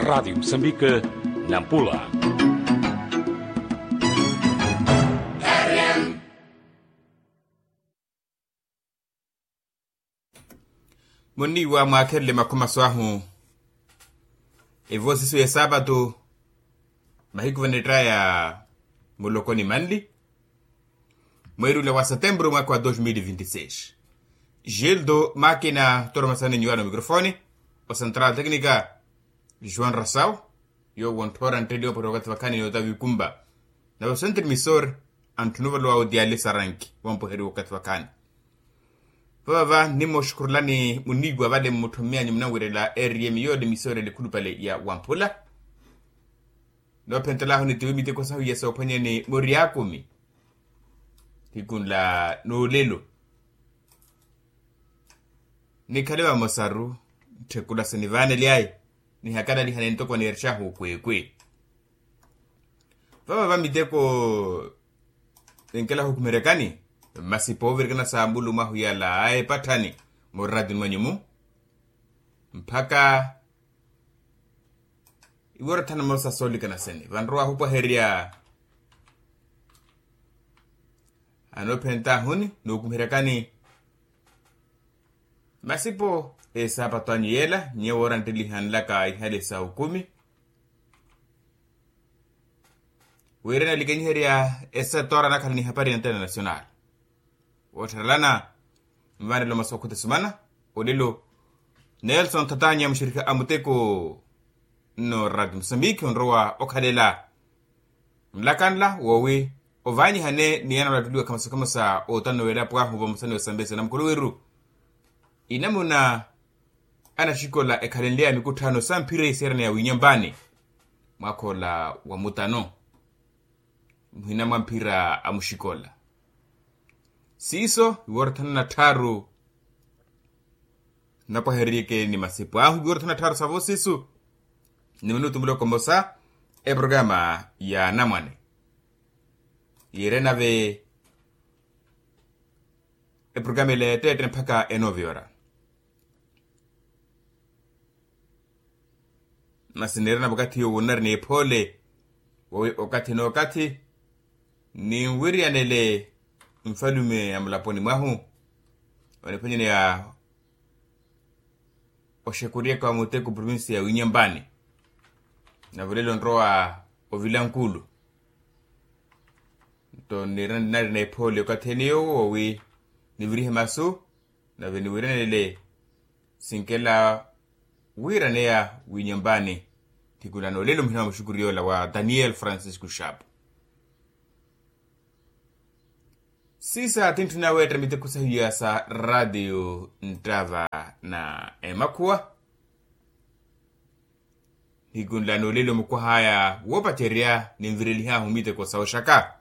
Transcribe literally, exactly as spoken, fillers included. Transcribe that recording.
Radiyo musambike, nampula. Munniiwa mwaakherele makhomaso ahu. Evo sisu ya esaapatu, mahiku vanettaya, muloko ni manli, mweeri ula wa setempuru mwaaka wa dos mil vinti seis. Gildo makina toromasani nyuwano mikrofoni, o central teknika, joan rasau, yoowo ontthora ntteeliwa opari wakathi vakhaani n'ota wiikumpa. Nave o centre misor, antthuna ovalowa otiali saranki wampoheriwa wakathi vakhaani. Vavava nimooxukhurulani munniiwa vale mmutthommeyanyu munanwerela eriyemi yoole misor elikhulupale ya wamphula. Noophentelaahu nitiwi miteko sahu ya soophwanyani moriakumi, thikunla n'olelo. Nikhale vamosaru, ntthekula sinivaanelyayi, nihakalalihane ntoko niirexahu okweekwe. Vavava miteko, enkela hukumerekani, masipa ovirikana sa mulumahu yala a epatthani, murratini mwanyu-mu, mpakha iworothana mosa soolikana sene vanrowa hupwaherya. Anoophentahuni nookumiheryakani masipo, esaapatu anyu yeela nyewo ora nttelihanlaka ihale sa okumi. Wira nalikenyiherya esetora nakhala ni hapari na international. Woottharelana, nvanelo masu akhuti sumana, olelo nelson thatanya muxirikhi a muteko, nno rati musambiki onrowa okhalela. Nlakanla woowi ovaanyihane ni ana olattuliwa khamasa khamasa ootano welapo ahu vamosa ni osambesa na mukuluwiru. Inamuna anaxikola ekhalenleya mikutthano sa mphira iseeraneya winyambaani, mwaakha ola wa mutano, muhina mwa mphira a muxikola. Siiso iworothana na tthaaru, napwahereriyeke ni masipu ahu iworothana na tthaaru savo siisu, ni minutu muloko mmosa, eprograma ya anamwane yiire nave. Eprograma ila ya tteette mpakha enoviora. Masi niirana vakathi yowo nnarina ephoole, woowi okathi n'okathi ninwiriyanele nfalume a mulaponi mwahu, oniphwanyaneya oxekuryaka wa muteko provincia ya winyambani, nave olelo nrowa ovilankulu. Nto niirana ephoole okathi ene yowo woowi nivirihe masu, nave niwiranele sinkela wiiraneya winyambani. Thikunano olelo muhina wa muxukuri yoola wa daniel francisco xapo. Sisa tintthuna weetta miteko sahiya sa ratiyo nttava na emakhuwa. Nikunlana olelo mukwah'aya woopacerya ninvirelih'ahu miteko sa oxaka.